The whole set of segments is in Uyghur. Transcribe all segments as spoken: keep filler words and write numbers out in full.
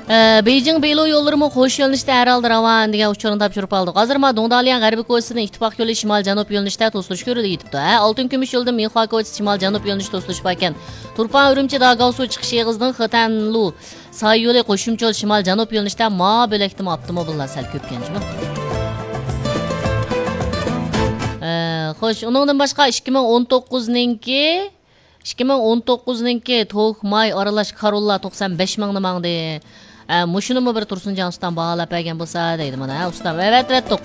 ئە، بېيجىڭ بېيلۇ يوللىرىمۇ قوش يۆنىلىشتە ھەر ھالدا راۋان دېگەن ئۇچۇرنى تاپشۇرۇپ ئالدۇق. ھازىر ما دۇڭدالياڭ غەربىي كوچىسىدىن ئىتتىپاق يولى شىمال جەنۇب يۆنىلىشتە توسۇلۇش كۆرۈلۈپ يېتىپتۇ. ھە، ئالتۇن كۈمۈش يولىدىن مىنخۇا كوچىسى شىمال جەنۇب يۆنىلىشى توسۇلۇش باركەن. تۇرپان ئۈرۈمچى داگاۋسۇ چىقىش ئېغىزىدىن خېتەنلۇ ساي يولى قوشۇمچە يول شىمال جەنۇب يۆنىلىشتە ما بۆلەكتىمۇ ئاپتوموبىللار سەل كۆپكەن جۇمۇ. ئە، خوش، ئۇنىڭدىن باشقا ئىككى مىڭ ئون توققۇزنىڭكى ئىككى مىڭ ئون توققۇزنىڭكى توك ماي ئارىلاش كاروللا توقسان بەش مىڭنى ماڭدى. ئە، مۇشۇنىمۇ بىر تۇرسۇنجان ئۇستام باھالاپ بەرگەن بولسا دەيدۇ مانا، ھە، ئۇستام، ئەۋەتىۋەتتۇق.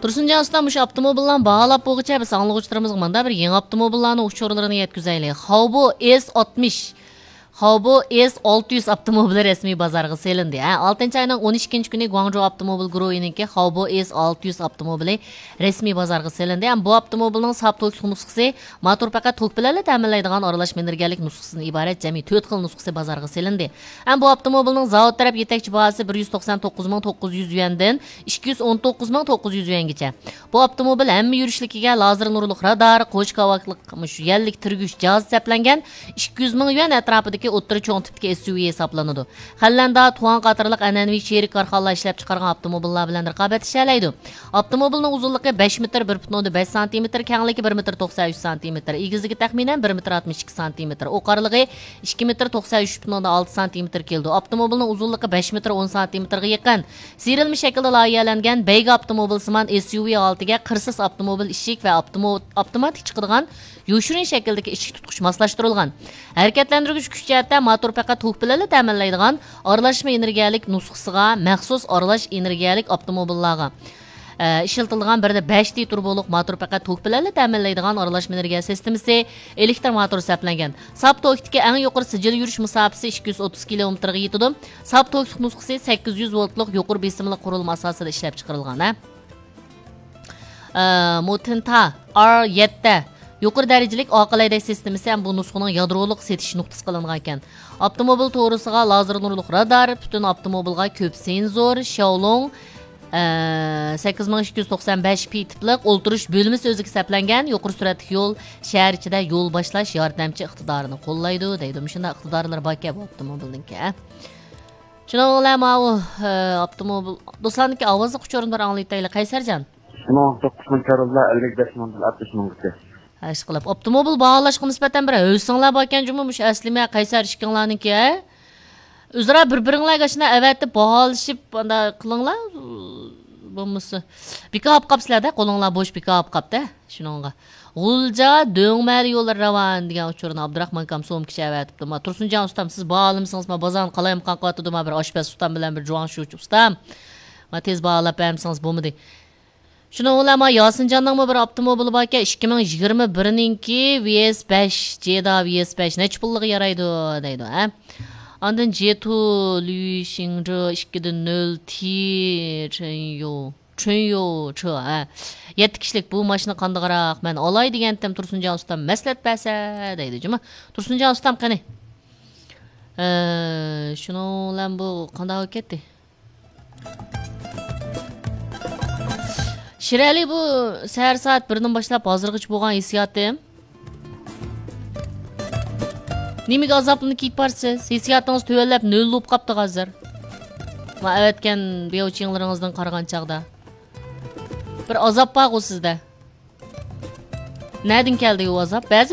تۇرسۇنجان ئۇستام، مۇشۇ ئاپتوموبىللارنى باھالاپ بولغۇچە بىز ئاڭلىغۇچىلىرىمىزغا مانا بىر يېڭى ئاپتوموبىللارنىڭ ئۇچۇرلىرىنى يەتكۈزەيلى. خاۋبو ئېس ئاتمىش. خاۋبو ئېس ئالتە يۈز ئاپتوموبىلى رەسمىي بازارغا سېلىندى. ھە، ئالتىنچى ئاينىڭ ئون ئىككىنچى كۈنى گۇاڭجۇ ئاپتوموبىل گۇرۇھىنىڭكى خاۋبو ئېس ئالتە يۈز ئاپتوموبىلى رەسمىي بازارغا سېلىندى. ھەم بۇ ئاپتوموبىلنىڭ ساپ توكلۇق نۇسخىسى ماتور پەقەت توك بىلەنلا تەمىنلەيدىغان ئارىلاشما ئېنېرگىيەلىك نۇسخىسىدىن ئىبارەت جەمئىي تۆت خىل نۇسخىسى بازارغا سېلىندى. ھەم بۇ ئاپتوموبىلنىڭ زاۋۇت تەرەپ يېتەكچى باھاسى بىر يۈز توقسان توققۇز مىڭ توققۇز يۈز يۈەندىن ئىككى يۈز ئون توققۇز مىڭ توققۇز يۈز يۈەنگىچە. بۇ ئاپتوموبىل ھەممە يۈرۈشلۈكىگە لازېر نۇرلۇق رادار، قوش كاۋاكلىق مۇشۇ يەللىك تۈرگۈش جاھازى سەپلەنگەن ئىككى يۈز مىڭ يۈەن ئەتراپىدىكى ئوتتۇرا چوڭ تىپتىكى ئېس يۇ ۋى ھېسابلىنىدۇ. خەنلەندە، تۇەن قاتارلىق ئەنئەنىۋى شېرىك كارخانىلار ئىشلەپچىقارغان ئاپتوموبىللار بىلەن رىقابەتلىشەلەيدۇ. ئاپتوموبىلنىڭ ئۇزۇنلۇقى بەش مېتىر بىر پۈتۈن ئوندىن بەش سانتىمېتىر، كەڭلىكى بىر مېتىر توقسان ئۈچ سانتىمېتىر، ئېگىزلىكى تەخمىنەن بىر مېتىر ئاتمىش ئىككى سانتىمېتىر، ئوقارلىقى ئىككى مېتىر توقسان ئۈچ پۈتۈن ئوندىن ئالتە سانتىمېتىر كېلىدۇ. ئاپتوموبىلنىڭ ئۇزۇنلۇقى بەش مېتىر ئون سانتىمېتىرغا يېقىن. سېرىلما شەكىلدە لايىھەلەنگەن بەيگە ئاپتوموبىل سىمان ئېس يۇ ۋى ھالىتىگە قىرسىز ئاپتوموبىل ئىشىك ۋە ئاپتومو-، ئاپتوماتىك چىقىدىغان يوشۇرۇن شەكىلدىكى ئىشىك تۇتقۇچ ماسلاشتۇرۇلغان. ھەرىكەتلەندۈرگۈچ كۈچ جەھەتتە ماتور پەقەت توك بىلەنلا تەمىنلەيدىغان ئارىلاشما ئېنېرگىيەلىك نۇسخىسىغا مەخسۇس ئارىلاش ئېنېرگىيەلىك ئاپتوموبىللارغا، ئە، ئىشلىتىلىدىغان بىر دە بەش تى تۇربولۇق ماتور پەقەت توك بىلەنلا تەمىنلەيدىغان ئارىلاشما ئېنېرگىيە سىستېمىسى، ئېلېكتر ماتور سەپلەنگەن. ساپ توكتىكى ئەڭ يۇقىرى سىجىل يۈرۈش مۇساپىسى ئىككى يۈز ئوتتۇز كىلومېتىرغا يېتىدۇ. ساپ توكلۇق نۇسخىسى سەككىز يۈز ۋولتلۇق يۇقىرى بېسىملىق قۇرۇلما ئاساسىدا ئىشلەپ چىقىرىلغان، ھە. ئە، مۇتىنتا ئار يەتتە يۇقىرى دەرىجىلىك ئاقىل ھەيدەش سىستېمىسى ھەم بۇ نۇسخىنىڭ يادرولۇق سېتىش نۇقتىسى قىلىنغان ئىكەن. ئاپتوموبىل توغرىسىغا لازېر نۇرلۇق رادار، پۈتۈن ئاپتوموبىلغا كۆپ سېنزور، شياۋلۇڭ، ئە، سەككىز مىڭ ئىككى يۈز توقسان بەش پى تىپلىق ئولتۇرۇش بۆلمىسى ئۆزىگە سەپلەنگەن، يۇقىرى سۈرئەتلىك يول، شەھەر ئىچىدە يول باشلاش ياردەمچى ئىقتىدارىنى قوللايدۇ دەيدۇ. مۇشۇنداق ئىقتىدارلىرى باركەن بۇ ئاپتوموبىلنىڭكى. شۇنىڭ بىلەن ماۋۇ، ئە، ئاپتوموبىل دوستلارنىڭكى ئاۋازلىق ئۇچۇرىنى بىر ئاڭلىتايلى، قەيسەرجان. ئىككى مىڭ ئون توققۇزىنچى كاروللا ئەللىك بەش مىڭدىن ئاتمىش مىڭغىچە. ھە، ئىشقىلىپ، ئاپتوموبىل باھالاشقا نىسبەتەن بىر ھۆسنىڭلار باركەن جۇمۇ، مۇشۇ ئەسلىمە قەيسەر ئىككىڭلارنىڭكى، ھە؟ ئۆزئارا بىر-بىرىڭلارگە ئاشۇنداق ئەۋەتىپ باھالىشىپ، ئانداق قىلىڭلار. بولمىسا، بىكار ئاپ قاپسىلەر-دە، قولۇڭلار بوش بىكار ئاپ قاپتە. شۇنىڭغا. غۇلجا دۆڭمەلى يوللىرى راۋان دېگەن ئۇچۇرنى ئابدۇراخمان ئاكام سومكىچە ئەۋەتىپتۇ. ما تۇرسۇنجان ئۇستام، سىز باھالىمىسىڭىز، ما بازارنى قالايمىقان قىلىۋاتىدۇ، ما بىر ئاشپەز ئۇستام بىلەن بىر جۇاڭشۇچى ئۇستام. ما تېز باھالاپ بەرمىسىڭىز بولمىدى. شۇنىڭ بىلەن ما ياسىنجاننىڭمۇ بىر ئاپتوموبىلى باركەن، ئىككى مىڭ يىگىرمە بىرنىڭكى ۋي ئېس بەش، جېدا ۋي ئېس بەش نەچچە پۇللۇقى يارايدۇ دەيدۇ، ھە. ئاندىن جېتۇ لۈشىڭجې ئىككى دە نۆل تى چېنيو، چېنيو چې، ھە. يەتتە كىشىلىك بۇ ماشىنا قانداقراق؟ مەن ئالاي دېگەنتىم، تۇرسۇنجان ئۇستام مەسلىھەت بەرسە دەيدۇ جۇمۇ. تۇرسۇنجان ئۇستام قېنى؟ ئە، شۇنىڭ بىلەن بۇ قانداق بولۇپ كەتتى؟ شىرئەلى، بۇ سەھەر سائەت بىردىن باشلاپ ھازىرغىچە بولغان ھېسسىياتىم. نېمىگە ئازابلىنىپ كېتىپ بارسىز؟ ھېسسىياتىڭىز تۆۋەنلەپ نۆل بولۇپ قاپتۇ ھازىر. ما ئەۋەتكەن بياۋچىڭلىرىڭىزدىن قارىغان چاغدا. بىر ئازاب بارغۇ سىزدە. نەدىن كەلدى ئۇ ئازاب؟ بەزى